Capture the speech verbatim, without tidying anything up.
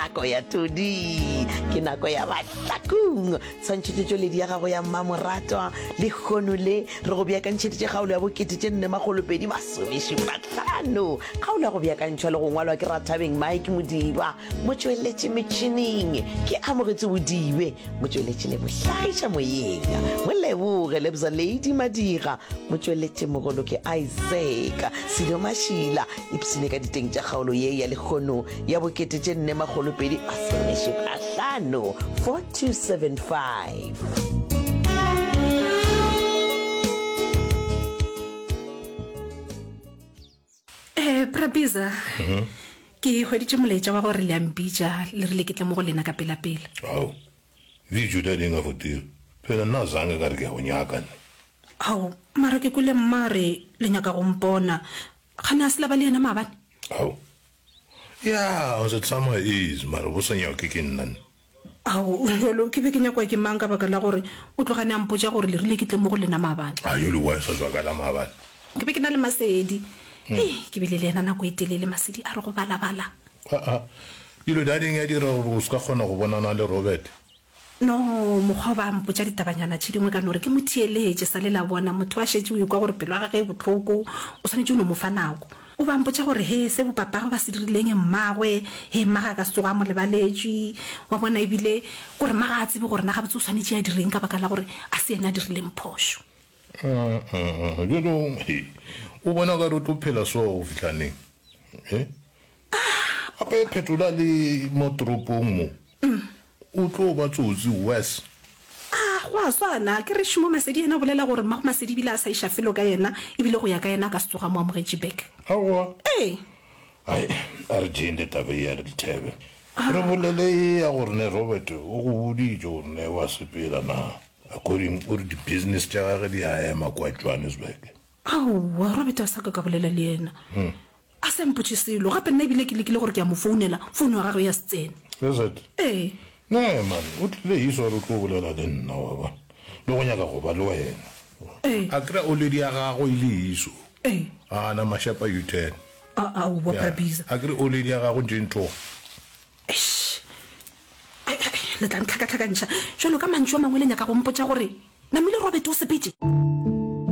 nako ya todi, ke nako ya Bahlakong. Tshwantšhetšotšweledi ya gago ya mmamoratwa lehono le re go beakantšheditše kgaolo ya bokete tše nne makgolo pedi masomešupa hlano. Kgaolo ya go beakantšhwa le go ngwalwa ke Rathabeng Mike Modiba, motšweletši metšhineng ke Amogetše Bodibe, motšweletši le mohlagiša moyeng Moleboge Lebza Lady Madira, motšweletši mogolo ke Isaac Silo Mašila. Ipshine ka diteng tša kgaolo ye ya lehono ya bokete tše nne makgolo pedi masomešupa hlano, four two seven five. Eh, Prabiza, ke hweditše molaetša wa gore le a mpitša, le rile ke tle mo go lena ka pelapela. Ao, video dadi nga fotile. Phela nna zange ka re ke a go nyaka nne. Ao, mara ke kwele mma a re le nyaka go mpona. Kgane a se la ba le yena maabane? Ao, ya, o se tsamaya easy, mara bo sa nyake ke nna nne. Ao, jalo ke be ke nyakwa ke mang ka baka la gore o tlogane a mpotša gore le rile ke tle mo go lena maabane? A yo le why sa tswa ka la maabane? Ke be ke na le Masedi. Hei, ke bile le yena nako e telele, Masedi a re go balabala. Aa, dilo dading ya dira gore o se ka kgona go bonana le Robert. No, mokgwa o ba mpotša ditabanyana tše dingwe ka no re ke mo theeletše, sa le la bona motho a šetše o ekwa gore pelo ya gagwe e bohloko, o swanetše o no mo fa nako. O ba mpotša gore he se bopapagwe ba se dirileng mmagwe, he mma ga a ka se tsoge a mo lebaletšwe, wa bona, ebile kore mma ga a tsebe gore na gabotse o swanetše a direng ka baka la gore a se yena a dirileng phošo. Bjalo, he, o bona o ka re o tlo phela so go fihla neng? He? Gape phetola le mo toropong mo. O tlo ba tsotsi worse. A go a swana, ke re Šumo Masedi yena o bolela gore mmago Masedi ebile a sa iša felo ka yena, ebile go ya ka yena a ka se tsoge a mo amogetše back. Aowa. Ee. Ai, a re tšeeng le taba ye ya Lethebe. Re bolele ye ya gore ne Robert o go boditše gore ne wa sepela na. According o re di-business tša gage di a ema kwa Johannesburg. Aowa, Robert a sa ka ka bolela le yena. A sa mpotše selo. Gape nna ebile ke lekile gore ke a mo founela, founu ya gagwe ya se tsene. Is it? Ee. Nee man, o tlile hiso a re o tlo bolela le nna, wa bona. Le go nyaka go ba le wena. Ee. A kry-a oledi ya gagwe e le hiso. Ee. A na mashapa U-turn. A, aowa, Ya, Prabiza. a kry oledi ya gagwe ntše e ntloga. Eish. Ai, ai, le tla ntlhakatlhakantšha. Bjalo ka mantšu a mangwe le nyaka go mpotša gore Namile Robert o sepetše?